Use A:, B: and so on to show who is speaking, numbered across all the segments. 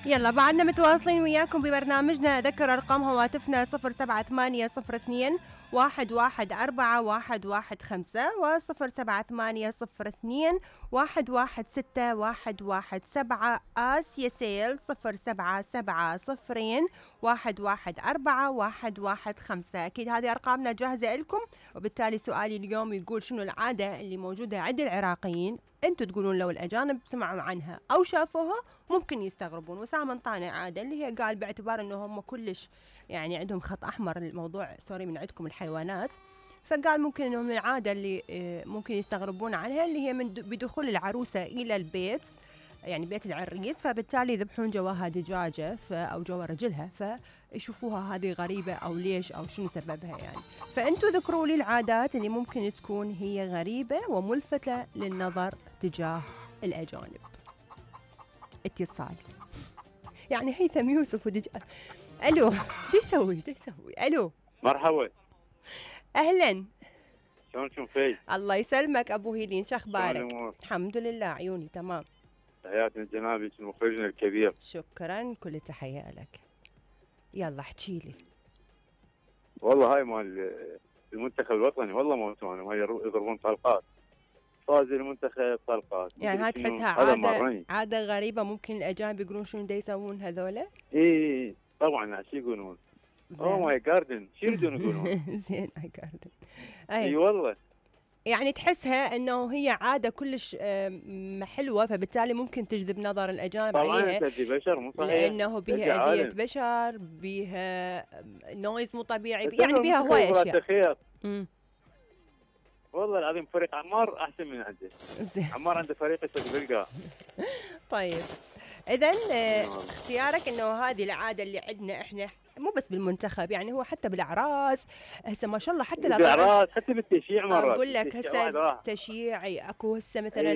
A: يلا بعدنا متواصلين وياكم ببرنامجنا. أذكر أرقام هواتفنا 07802 114 و07802 116 آسيا سيل 0770 114 أكيد هذه أرقامنا جاهزة لكم. وبالتالي سؤالي اليوم يقول شنو العادة اللي موجودة عند العراقيين انتوا تقولون لو الأجانب سمعوا عنها أو شافوها ممكن يستغربون. وسام انطانا عادة اللي هي قال باعتبار انه هم كلش يعني عندهم خط أحمر الموضوع سوري من عندكم الحيوانات، فقال ممكن انهم العادة اللي ممكن يستغربون عنها اللي هي من بدخول العروسة إلى البيت يعني بيت العريس، فبالتالي يذبحون جواها دجاجة أو جوا رجلها، فيشوفوها هذه غريبة أو ليش أو شنو سببها يعني. فأنتوا ذكروا لي العادات اللي ممكن تكون هي غريبة وملفتة للنظر تجاه الأجانب. اتصال يعني هيثم يوسف ألو يسوي ألو
B: مرحبا.
A: أهلا
B: شلونكم في؟
A: الله يسلمك أبو هيلين، شخبارك؟ الحمد لله عيوني تمام.
B: تحياتنا لجنابك مخرجنا الكبير.
A: شكرا، كل التحية لك. يلا احكي لي.
B: والله هاي مال المنتخب الوطني والله موتونا، هاي يضربون طلقات، فاز المنتخب طلقات
A: يعني هاي تحسها عادة غريبة ممكن الأجانب يقولون شنو دا يسوون هذولا؟
B: اي طبعا شو يقولون؟ اوه ماي جاردن، شو يريدون يقولون؟
A: زين ماي جاردن.
B: اي والله
A: يعني تحسها انه هي عاده كلش حلوه، فبالتالي ممكن تجذب نظر الاجانب عليها.
B: طبعا تجذب بشر مو صحيح،
A: لانه بيها اذيه بشر، بيها نويز مو طبيعي، يعني بيها هواي اشياء.
B: والله العظيم فريق عمار احسن من عنده. عمار عنده فريق يصير بالقاع.
A: طيب اذا اختيارك انه هذه العاده اللي عندنا احنا مو بس بالمنتخب، يعني هو حتى بالاعراس هسه ما شاء الله، حتى
B: بالاعراس حتى بالتشييع مرات
A: اقول لك هسه تشييعي اكو هسه مثلا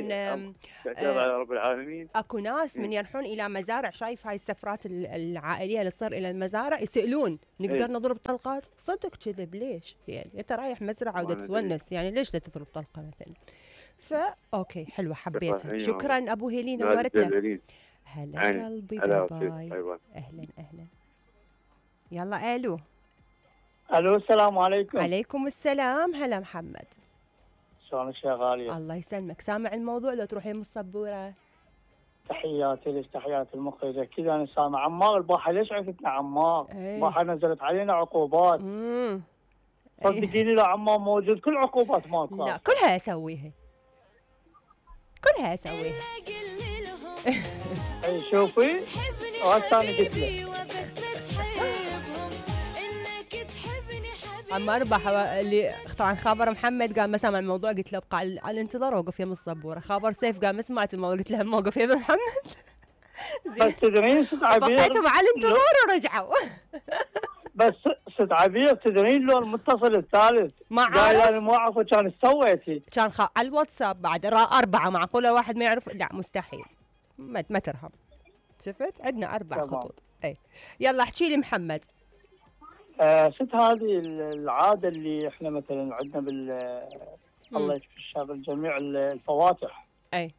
B: على رب العالمين
A: اكو ناس من يروحون الى مزارع، شايف هاي السفرات العائليه اللي تصير الى المزارع يسالون نقدر نضرب طلقات؟ صدق كذب ليش؟ يعني انت رايح مزرعه وتتونس يعني ليش لا تضرب طلقه مثلا؟ اوكي حلوه حبيتها. شكرا ابو هيلين نورتنا. هلا قلبي باي. اهلا يلا الو
C: السلام عليكم.
A: عليكم السلام. هلا محمد،
C: شلونك يا غالية؟
A: الله يسلمك. سامع الموضوع لو تروحين من الصبورة؟
C: تحياتي لك، تحياتي المخرجة. كذا انا سامع عمار البارحة. ليش عرفتنا عمار؟ البارحة نزلت علينا عقوبات. صدقيني لو عمار موجود كل عقوبات ما صار.
A: لا كلها اسويها
C: اي شوفي ثاني قلت لك
A: عمار اللي طبعا خابر محمد قال ما سامع الموضوع، قلت له ابقى على الانتظار وقف يم الصبوره. خابر سيف قال ما سمعت الموضوع، قلت له موقف يم محمد.
C: بس تدرين ست عبير
A: بقيتهم على الانتظار ورجعوا.
C: بس ست عبير تدرين لو المتصل الثالث
A: ما عارف،
C: قال انا ما اعرف كان ايش سويتي.
A: كان على الواتساب بعد 4 معقوله واحد ما يعرف؟ لا مستحيل، ما ترهم. شفت عندنا 4 خطوط. اي يلا احكي لي محمد.
C: ست هذه العاده اللي احنا مثلا عندنا الله يشفي الشر الجميع الفواتح.
A: اي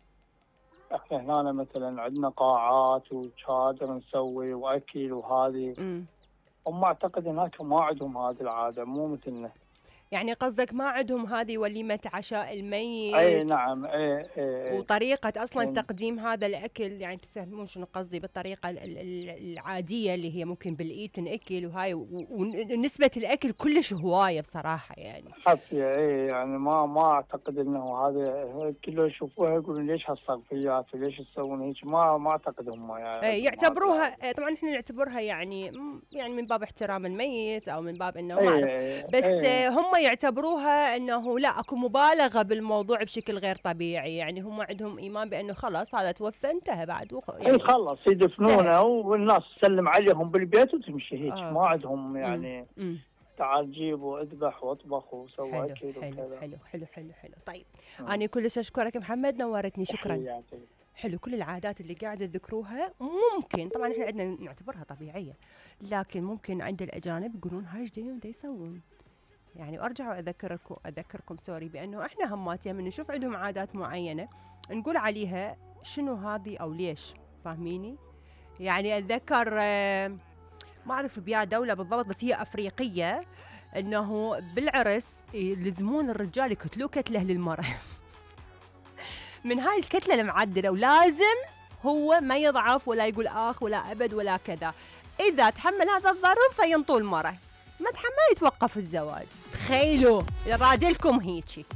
C: احنا هنا مثلا عندنا قاعات وشادر نسوي واكل وهذه. هم اعتقد هناك ما عندهم هذه العاده، مو مثلنا.
A: يعني قصدك ما عندهم هذه وليمة عشاء الميت؟
C: اي نعم. اي
A: وطريقة اصلا تقديم هذا الاكل، يعني تفهمون شنو قصدي، بالطريقة العادية اللي هي ممكن بالايد تنأكل وهاي، ونسبة الاكل كلش هواية بصراحة يعني.
C: حصية يعني ما اعتقد انه هذا كله يشوفوها يقولون ليش هالصرفيات وليش تسوون هيك. ما اعتقد هم يعني
A: يعتبروها طبعا احنا نعتبرها يعني من باب احترام الميت او من باب انه بس هم يعتبروها انه لا اكو مبالغه بالموضوع بشكل غير طبيعي. يعني هم عندهم ايمان بانه خلاص هذا توفى انتهى بعد
C: يعني خلص يدفنونه والناس تسلم عليهم بالبيت وتمشي هيك. ما عندهم يعني تعال جيب واذبح واطبخ وسوي اكل وكذا.
A: حلو. طيب انا كلش اشكرك محمد، نورتني. شكرا. حلو. كل العادات اللي قاعده تذكروها ممكن طبعا احنا عندنا نعتبرها طبيعيه، لكن ممكن عند الاجانب يقولون هاي ايش دا يسوون يعني. وارجع اذكركم سوري بانه احنا همات من نشوف عندهم عادات معينه نقول عليها شنو هذه او ليش، فاهميني؟ يعني اتذكر ما اعرف بيا دولة بالضبط بس هي افريقية، انه بالعرس يلزمون الرجال يكتلوه كتله للمرأة من هاي الكتلة المعدلة، ولازم هو ما يضعف ولا يقول اخ ولا ابد ولا كذا. اذا تحمل هذا الظرف فينطوا المرأة، ما تحمل يتوقف الزواج. تخيلوا رادلكم هيجي.